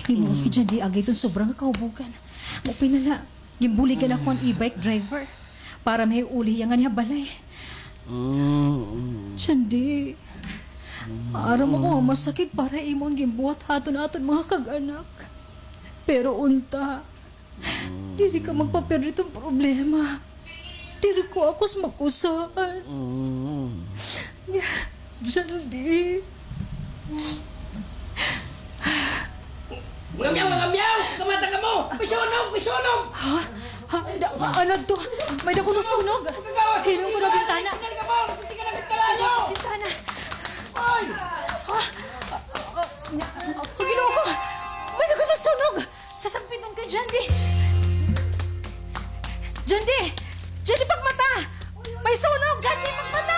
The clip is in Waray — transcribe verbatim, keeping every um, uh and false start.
Imo, Jandy, agi iton sobra nga kahubugan. Maupay na la, ginbuligan ako han e-bike driver para mahiuli hiya nganhi ha balay. Jandy, maaram ako nga masakit para imo an ginbuhat ha aton, aton mga kag-anak. Pero unta, diri ka magpapirdi hiton problema. Diri ko ako sa mag-usahan. Jandy. Mga miyaw, mga miyaw! Kamata kamo! May sunog! May sunog! Ha? Ha? Da, ano to? May dako nga sunog. Hinong ko na bintana. Bintana. Ay! Ha? Ginoo ko! May dako nga sunog! Sasagpiton ko, Jandy! Jandy! Jandy, pagmata! May sunog! Jandy, pagmata!